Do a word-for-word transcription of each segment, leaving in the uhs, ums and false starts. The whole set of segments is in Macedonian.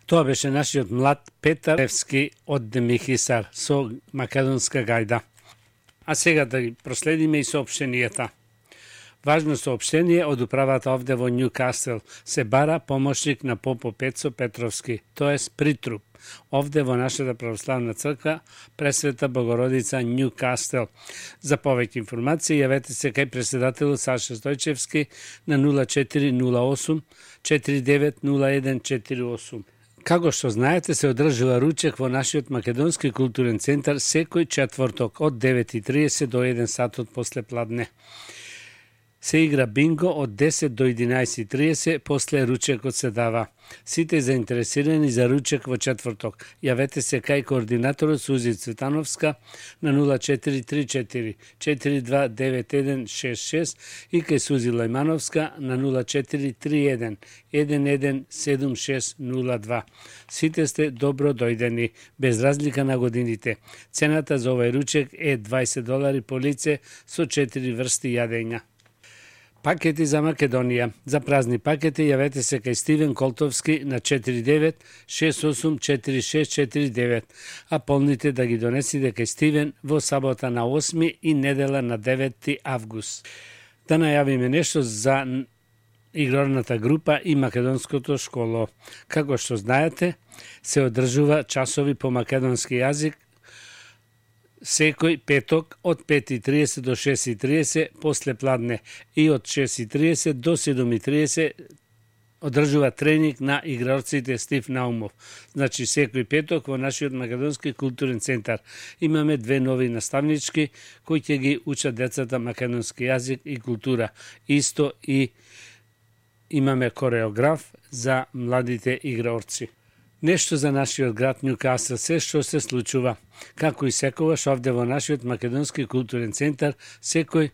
Тоа беше нашиот млад Петар Левски од Демихисар со македонска гајда. А сега да ги проследиме и соопштенијата. Важно соопштение од управата овде во Њукасел. Се бара помошник на Попо Пецо Петровски, тоест притруп, овде во нашата православна црква Пресвета Богородица Њукасел. За повеќе информации јавете се кај председателот Саша Стојчевски на нула четири нула осум четири девет нула еден четири осум. Како што знаете, се одржува ручек во нашиот македонски културен центар секој четврток од девет и триесет до еден сатот после пладне. Се игра бинго од десет до единаесет и триесет, после ручекот се дава. Сите заинтересирани за ручек во четврток, јавете се кај координаторот Сузи Цветановска на нула четири три четири четири два девет еден шест шест и кај Сузи Лајмановска на нула четири три еден еден еден седум шест нула два. Сите сте добро дојдени, без разлика на годините. Цената за овој ручек е дваесет долари по лице со четири врсти јадења. Пакети за Македонија. За празни пакети јавете се кај Стивен Колтовски на четири девет шест осум четири шест четири девет, а полните да ги донесите кај Стивен во сабота на осми и недела на деветти август. Да најавиме нешто за игрорната група и македонското школо. Како што знаете, се одржува часови по македонски јазик секој петок од пет и триесет до шест и триесет после пладне и од шест и триесет до седум и триесет одржува тренинг на игрорците Стив Наумов. Значи секој петок во нашиот македонски културен центар имаме две нови наставнички кои ќе ги учат децата македонски јазик и култура. Исто и имаме кореограф за младите игрорци. Нешто за нашиот град Њукасел, се што се случува. Како и секогаш овде во нашиот македонски културен центар, секој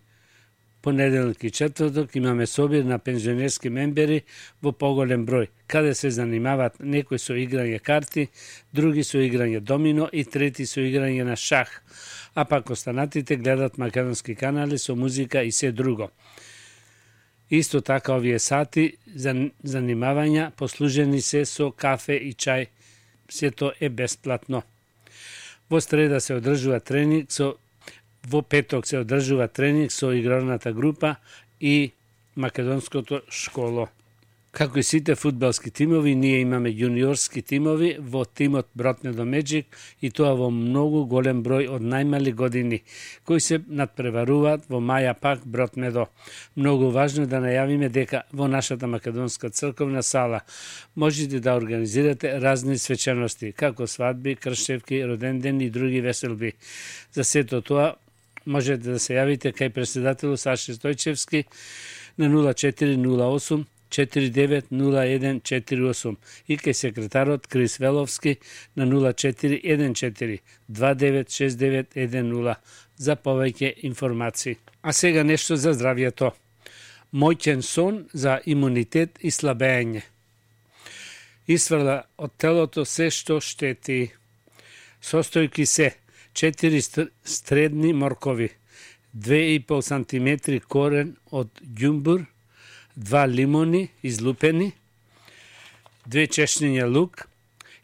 понеделник и четврток имаме собир на пензионерски мембери во поголем број, каде се занимаваат некои со играње карти, други со играње домино и трети со играње на шах, а пак останатите гледат македонски канали со музика и се друго. Исто така овие сати за занимавања послужени се со кафе и чај, сето е бесплатно. Во среда се одржува тренинг со во петок се одржува тренинг со игрорната група и македонското школо. Како и сите фудбалски тимови, ние имаме јуниорски тимови во тимот Бротмедо Меджик и тоа во многу голем број од најмали години, кои се надпреваруваат во Маја Пак Бротмедо. Многу важно е да најавиме дека во нашата македонска црковна сала можете да организирате разни свечености, како свадби, кршевки, родендени и други веселби. За сето тоа можете да се јавите кај председателот Саша Стојчевски на нула четири нула осум четири девет нула еден четири осум и кај секретарот Крис Веловски на нула четири еден четири два девет шест девет еден нула за повеќе информации. А сега нешто за здравјето. Моќен сон за имунитет и слабење. Исфрла од телото се што штети. Состојки се четири средни моркови, две и пол сантиметри корен од ѓумбур, два лимони излупени, две чешниња лук,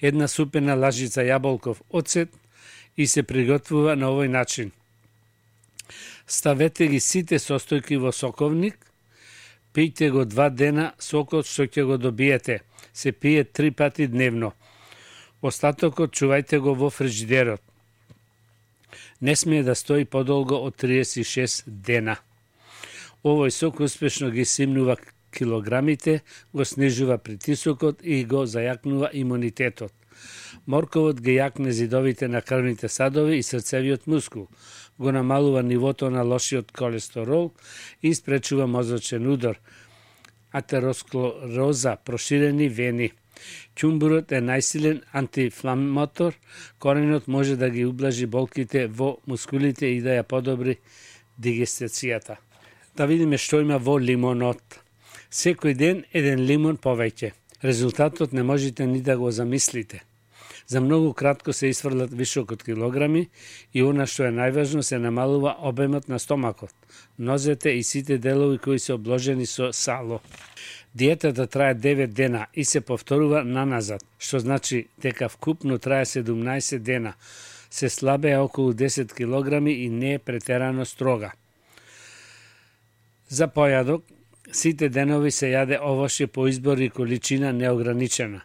една супена лажица јаболков оцет и се приготвува на овој начин. Ставете ги сите состојки во соковник, пијте го два дена сокот што ќе го добиете. Се пие три пати дневно. Остатокот чувајте го во фриџидерот. Не смее да стои подолго од триесет и шест дена. Овој сок успешно ги симнува килограмите, го снижува притисокот и го зајакнува имунитетот. Морковот ги јакне зидовите на крвните садови и срцевиот мускул, го намалува нивото на лошиот колестерол и спречува мозочен удор, атеросклероза, проширени вени. Ќумбурот е најсилен антиинфламатор, коренот може да ги ублажи болките во мускулите и да ја подобри дигестацијата. Да видиме што има во лимонот. Секој ден еден лимон повеќе. Резултатот не можете ни да го замислите. За многу кратко се исфрлат вишок од килограми и она што е најважно се намалува обемот на стомакот, нозете и сите делови кои се обложени со сало. Диетата трае девет дена и се повторува наназад, што значи дека вкупно трае седумнаесет дена. Се слабее околу десет килограми и не е претерано строга. За појадок, сите денови се јаде овошје по избор и количина неограничена.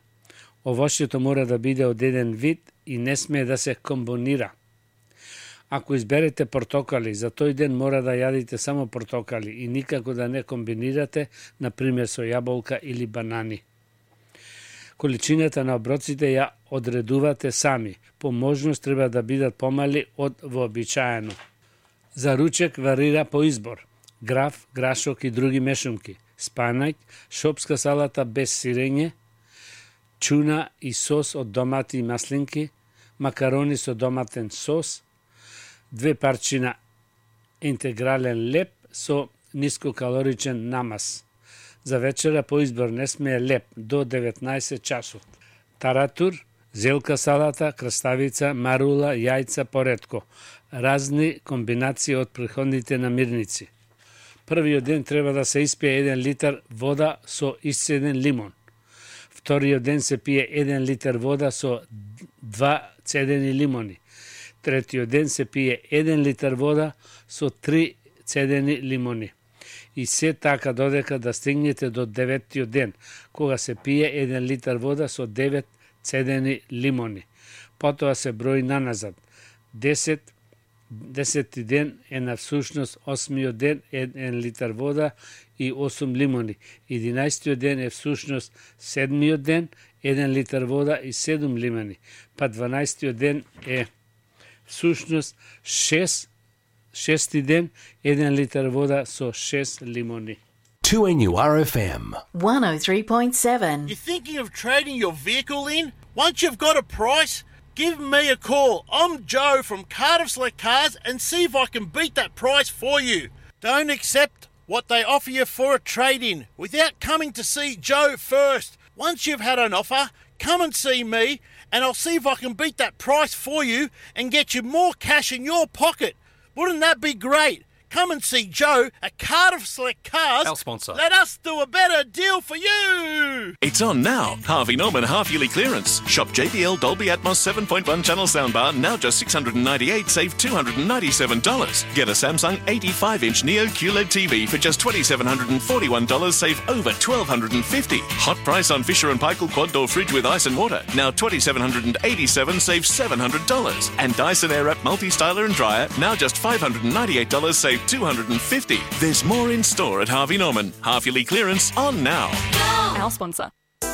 Овошјето мора да биде од еден вид и не смее да се комбинира. Ако изберете портокали, за тој ден мора да јадите само портокали и никако да не комбинирате, например со јаболка или банани. Количината на оброците ја одредувате сами. По можност треба да бидат помали од вообичаено. За ручек варира по избор. Граф, грашок и други мешунки, спанаќ, шопска салата без сирење, чуна и сос од домати и маслинки, макарони со доматен сос, две парчина интегрален леп со нискокалоричен намаз. За вечера по избор не смее леп до деветнаесет часот. Таратур, зелка салата, краставица, марула, јајца поретко. Разни комбинации од претходните намирници. Првиот ден треба да се испие еден литар вода со исцеден лимон. Вториот ден се пие еден литар вода со два цедени лимони. Третиот ден се пие еден литар вода со три цедени лимони. И се така додека да стигнете до деветиот ден, кога се пие еден литар вода со девет цедени лимони. Потоа се брои наназад. десет Десети ден е на всушност осмиот ден еден литар вода и осум лимони. Единаесетиот ден е всушност седмиот ден еден литар вода и седум лимони. Па дванаесетиот ден е всушност шест шести ден еден литар вода со шест лимони. two N U R F M one oh three point seven. You're thinking of trading your vehicle in? Once you've got a price, give me a call. I'm Joe from Cardiff Select Cars and see if I can beat that price for you. Don't accept what they offer you for a trade-in without coming to see Joe first. Once you've had an offer, come and see me and I'll see if I can beat that price for you and get you more cash in your pocket. Wouldn't that be great? Come and see Joe at Cardiff Select Cars. Our sponsor. Let us do a better deal for you. It's on now. Harvey Norman half-yearly clearance. Shop J B L Dolby Atmos seven point one channel soundbar now just six hundred ninety-eight dollars, save two hundred ninety-seven dollars. Get a Samsung eighty-five inch Neo Q L E D T V for just two thousand seven hundred forty-one dollars, save over one thousand two hundred fifty dollars. Hot price on Fisher and Paykel quad door fridge with ice and water. Now two thousand seven hundred eighty-seven dollars, save seven hundred dollars. And Dyson Airwrap multi-styler and dryer now just five hundred ninety-eight dollars, save two hundred fifty dollars. There's more in store at Harvey Norman. Half-yearly clearance on now. Our sponsor.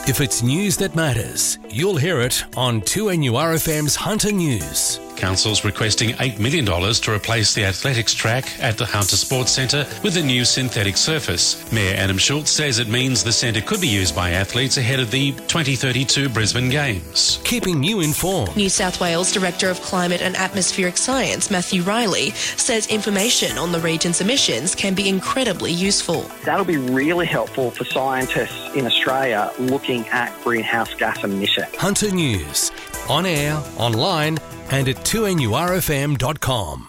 If it's news that matters, you'll hear it on two N U R F M's Hunter News. Council's requesting eight million dollars to replace the athletics track at the Hunter Sports Centre with a new synthetic surface. Mayor Adam Schultz says it means the centre could be used by athletes ahead of the twenty thirty-two Brisbane Games. Keeping you informed. New South Wales Director of Climate and Atmospheric Science, Matthew Riley, says information on the region's emissions can be incredibly useful. That'll be really helpful for scientists in Australia looking at greenhouse gas emissions. Hunter News. On air, online, and at two N U R F M dot com.